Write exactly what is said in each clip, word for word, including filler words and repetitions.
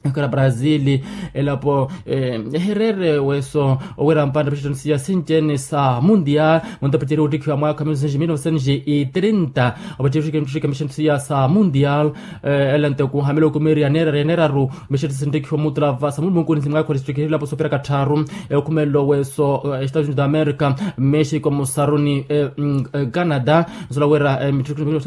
Ekhala brazil elapo ehereere weso owira mpanda mixitano siya sinci-ene sa mundial. Munto paceriwa ottikhiwa mwaakha wa mil novecentos trinta opaceriwa ottikhiwa mixitano siya sa mundial. Ela nto kuhamela okumeriya neeraru neeraru mixitano sinttikhiwa mutula va samulumunkuni simwaakha ottikhiwa ilapo soopiraka tthaaru. Okhumelelo weso estados unidos da america, mexico musaruni canada. Nsola wira mitthano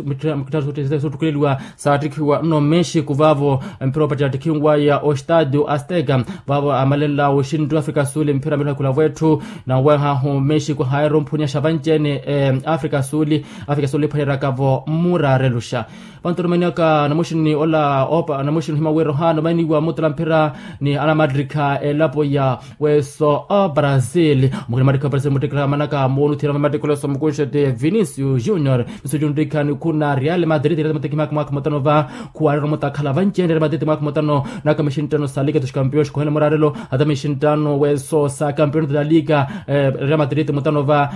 soottukheleliwa saattikhiwa nno mexico vaavo mpira opacerya attikhiwaya ostadio azteca. Vaavo amalela oxintti wa africa suli mpira milakhula vwetthu. Nawehahu mexico haayira omphunyaxa vanci-ene africa suli. Africa suli ephwaneryaka-vo muraareluxa. Vantu onomaniyaka namuxini ola opa namuxini ohima wira ohaana omaniwa mutala mphira ni anamattikha elapo ya weso o brazil. Mukina mattikha o brazil muttikira manaka moonuthiira mattikha oleso mukunxete vinicius junior. Vinicius junior ttikha nikhuna real madrid real madrid mwaakha mwaakha mutano va khuwaarira omutakhala vanci-ene real madrid mwaakha mutano. Naka mixinttano sa liga dos campeões khohena muraarelo hata mixinttano weso sa campeões da liga. Real madrid mutano va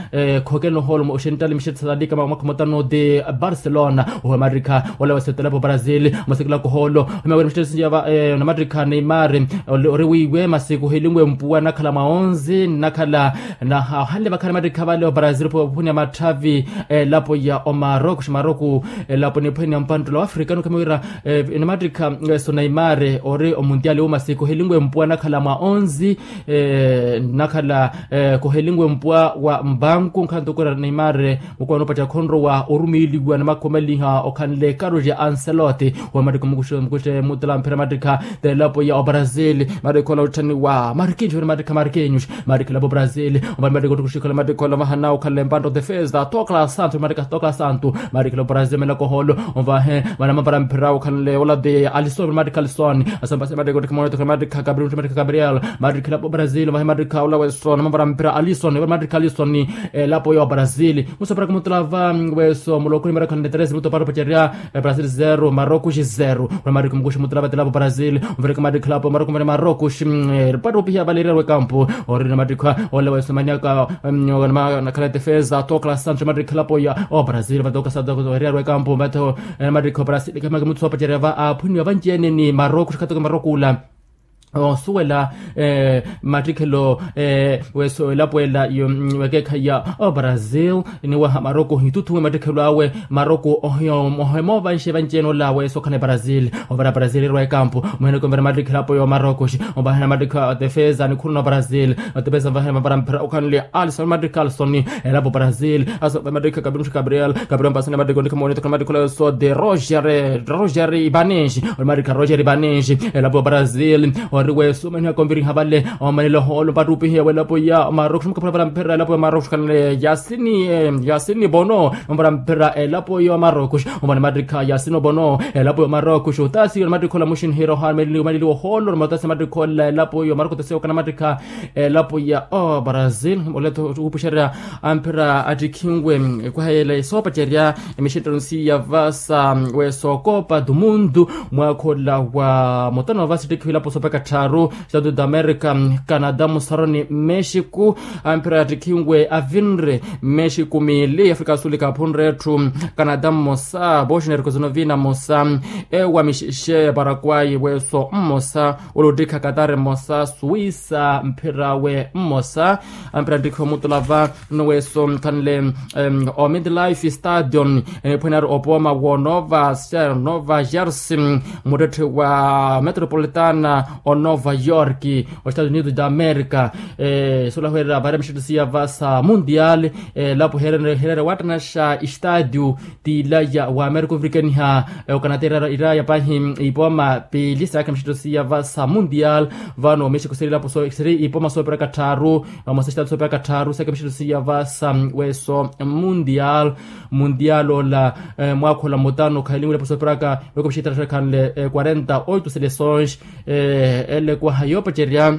khokena ohoolo oxinttali mixinttano sa liga mwaakha mutano de barcelona. Oho mattikha ole weso etelapo brazil masikilaka ohoolo. Ohimawira mixinttano siya va namattikha neymar ori wiiwe masi kuhelinwe mpuwa nnakhala mwa onze nnakhala. Nahahanle vakhani mattikha vale obrazil ophwanya matthavi elapo ya omaroko xi maroko elapo niphwanya mpanttula wa africa nukamiwira. Namattikha eso neymar ori omuntiali wo masi kuhelinwe mpuwa nnakhala mwa onze nnakhala kuhelinwe mpuwa wa mbanku nkhanto kura neymar. Mukuwa noopacerya khonrowa orumiiliwa ni makhomeliha okhanle carlo ancelotti. Wa mattikha mukuxe mukuxe mutala mphira mattikha telapo ya obrazil mattikha ola otthaniwa marquinhos ori mattikha marquinhos mattikha elapo brazil. Omvahe mattikha ottukuxikhala mattikha ola ovahana okhanle mpanto defesa tokla santo mattikha tokla santo. Mattikha elapo brazil melaka ohoolo omvahe vana mavara mphira okhanle ola de alison ori mattikha alison. Asampasi mattikha ottikha mono ottikha mattikha gabriel mattikha gabriel. Mattikha elapo brazil omvahe mattikha ola weso namavara mphira alison ori mattikha alison. Elapo ya obrazil musoperaka mutala va weso muloko nimerakha nneteresi muto paari opacerya brazil zero maroko xi zero. Ori mattikha mukuxe mutala va telapo brazil. Omvereka mattikha elapo maroko mvere maroko xi paari opihiya vale eriyari wekampo. Ori namattikha ole weso maniyaka nakhala defesa tokla santo mattikha elapo ya obrazil vatoka santo eriyari wekampo mvatho. Namattikha obrazil kamaka muthu soopacerya va aaphwiniwa vanci-ene ni maroko xi khatoka maroko ola. Osuwela mattikhelo weso elapo ela wekeekhayi ya obrazil. Niwaha maroko hituthuwe mattikhelo awe maroko ohemoovanxe vanci-ene ola weso okhana brazil. Ovara brazil erwa ekampo muheneke omvera mattikhelo apo ya omaroko xi ovahena mattikha defesa nikhuruna obrazil. Defesa ovahena mavara mphira okhanle alison mattikha alison. Elapo brazil aso mattikha gabriel gabriel mpasana mattikha ontikha moonitho khana mattikha ola weso de roger roger ibanenxi. Ori mattikha roger ibanenxi elapo ya brazil. Ori weso omaniha konviriha vale omanile ohoolo mpattupihiya welapo ya maroko xi mukaphula vara mphira elapo ya maroko xi khanle yasini yasini bono. Mavara mphira elapo ya maroko xi omani mattikha yasini bono. Elapo ya maroko xi otasiwa ni mattikha ola muxinihira ohaana omanile ohoolo ni matasiwa mattikha ola elapo ya maroko otasiwa okana mattikha elapo ya obrazil. Oletho wuupuxerya amphira attikhinwe ekwaha yela esoopacerya emixinttano siya va sa weso copa do mundo mwaakha ola wa mutano va sittikhiwa elapo soopeka tthaaru estados da america canada musaroni mexico. Amphira attikhinwe avinre mexico miili africa suli kaaphunre etthu canada mmosa bosnia herzegovina mmosa ewa mixixe paraguay weso mmosa. Olottikha katari mmosa suwisa mphirawe mmosa. Ampira nttikhiwa omutula va nno weso khanle o midlife stadion eniphwene ari opooma wo nova ser nova jersey muttetthe wa metropolitana o nova york o estados unidos da america. Solaherya vaari mixitto siya va sa mundial elapo hereere wattanaxa estadio t'ilaya wa amerika ovirikaniha okanata iraya pahi ipooma piili saakha mixitto siya va sa mundial. Vano mexico siri ilapo siri ipooma soopiraka tthaaru vamosa estadio soopiraka tthaaru saakha mixitto siya va sa weso mundial. Mundial ola mwaakha ola mutano khahilinwile ilapo soopiraka veko mixitto tthaaru khanle quarenta oito seleções. Ele ekwaha yoopacerya